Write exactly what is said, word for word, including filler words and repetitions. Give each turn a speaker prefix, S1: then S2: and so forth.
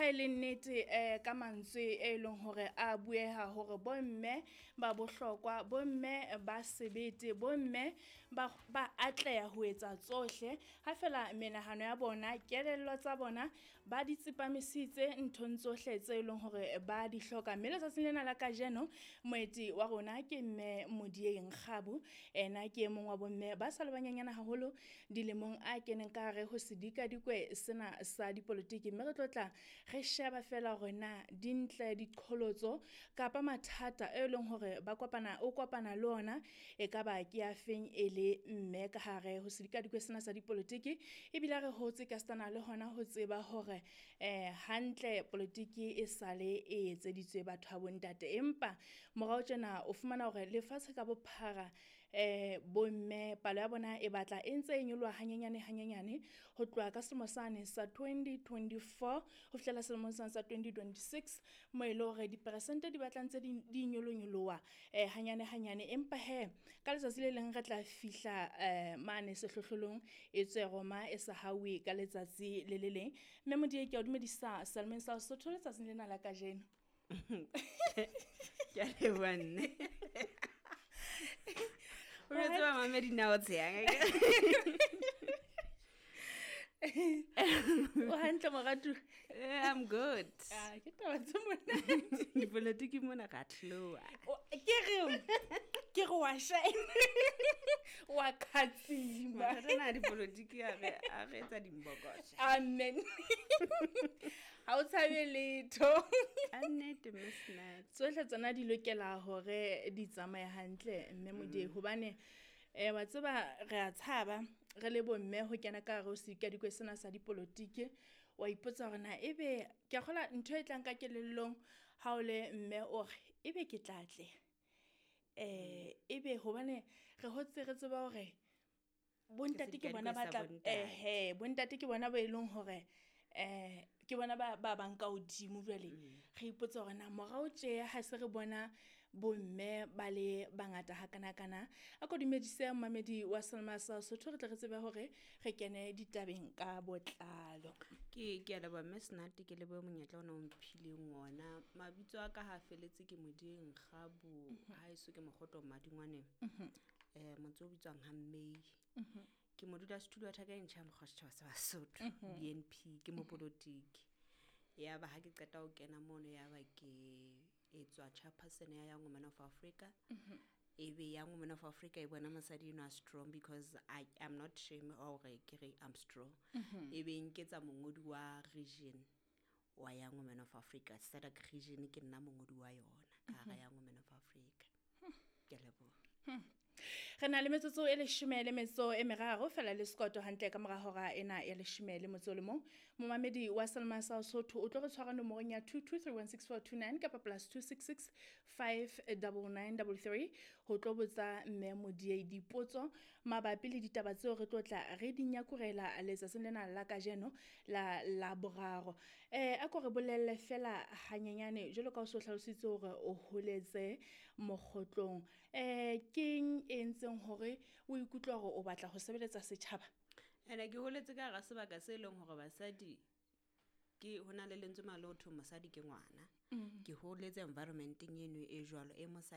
S1: ha e le nnete um ka mantswe e leng hore a bueha hore bomme ba bohlokwa, bomme ba sebete, bomme ba ba atleha ho etsa tsohle. Ha fela menahano ya bona, kelello tsa bona ba di tsepamisitse nthong tsohle tse leng hore ba di hloka. Mme letsatsing lena la kajeno moeti wa rona ke mme Modiegi Nkgabu. Ena ke e mong wa bomme ba sa le banyenyane haholo dilemong a keneng ka hare ho sedikadikwe sena sa dipolotiki. Mme re tlo tla re sheba fela hore na dintle, diqholotso kapa mathata e leng hore ba kopana o kopana le ona e kaba ke a feng e le mme ka hare ho sedikadikwe sena sa dipolotiki. Ebile re hotse ka setana le hona ho tseba hore eh hantle politiki e sale e etseditswe batho ba bontate, empa morao tjena o fumana hore lefatshe ka bophara eh bomme palo ya bona e batla e ntse e nyoloha hanyenyane hanyenyane ho tloha ka selemo sane sa twenty twenty-four ho fihlela selemong sane sa twenty twenty-six, mo e le hore diperesente di batla ntse di, di nyolonyoloha eh hanyane hanyane. Empa he ka letsatsi le leng re tla fihla eh mane sehlohlolong e tswe Roma e sa hauwe ka letsatsi le le leng. Mme Modiegi, ke a o dumedisa Salmon sa Sesotho letsatsing lena la kajeno.
S2: Ke a leboha nne. O jwetse ba mamedi na o tshehang.
S1: O hantle moratuwa?
S2: Eh, I'm good.
S1: Ah, ke taba tse monate.
S2: Dipolotiki mona ra tloha.
S1: O, ke re, ke re wa shine. Wa khatsima.
S2: Mathata ana a dipolotiki a re, a re etsa dimbokosha.
S1: Amen. Ha o tshabe letho.
S2: Ka nnete, Mme Snatch.
S1: Tsohle tsona di lokela hore di tsamaye hantle, mme Modiegi, hobane eh wa tseba re a tshaba re le bomme ho kena ka hare ho sedikadikwe sena sa dipolotiki. Wa ipotsa hore na ebe ke a kgolwa ntho e tlang ka kelellong ha o le mme o re ebe ke tla atleha. Eh ebe hobane re hotse re tseba hore bontate ke bona ba tla, ehe, bontate ke bona ba e leng hore eh ke bona ba ba bang ka hodimo jwale. Re ipotsa hore na morao tje ha se re bona bomme ba le bangata hakanakana. A ko dumedise momamedi wa Selma sa Sesotho re tle re tsebe hore re kene ditabeng ka botlalo.
S2: Ke, ke a leboha Mme Snat, ke lebohe monyetla ona o mphileng ona. Mabitso a ka ha felletse ke Modiegi Nkgabu, haeso ke Mokgotlo Madingwaneng. Eh motse o bitswang ha Mmei. Ke modulasetulo wa thaka e ntjha ya mokgwa setjhaba sa Basotho, B N P, ke mopolotiki. Ya ba ha ke qeta ho kena mono, ya ba ke etswa chairperson ya Young Women of Africa. Ebe Young Women of Africa e bona mosadi enwa strong because I am not shame hore ke re I'm strong. Ebe nketsa mongodi wa region wa Young Women of Africa, SADC region ke nna mongodi wa yona ka hara Young Women of Africa. Ke a leboha.
S1: Re na le metsotso e leshome le metso e meraro fela le sekoto hantle ka mora hora ena ya leshome le motso o le mong. Momamedi wa Selma sa Sesotho o tlo re tshwara nomorong ya two two three one six four two nine kapa plus two six six five double nine double three ho tlo botsa mme Modiegi dipotso mabapi le ditaba tseo re tlo tla re di nyakurela letsatsing lena la kajeno la la boraro. Eh, a ko re bolelle fela hanyenyane jwalo ka o so hlalositse hore o holetse mokgotlong. Eh, keng e entseng hore o ikutlwe hore o batla ho sebeletsa setjhaba?
S2: Ene ke holetse ka hara sebaka se leng hore basadi ke ho na le lentswe male ho thwe mosadi ke ngwana. Ke holetse environmenteng eno e jwalo e mosadi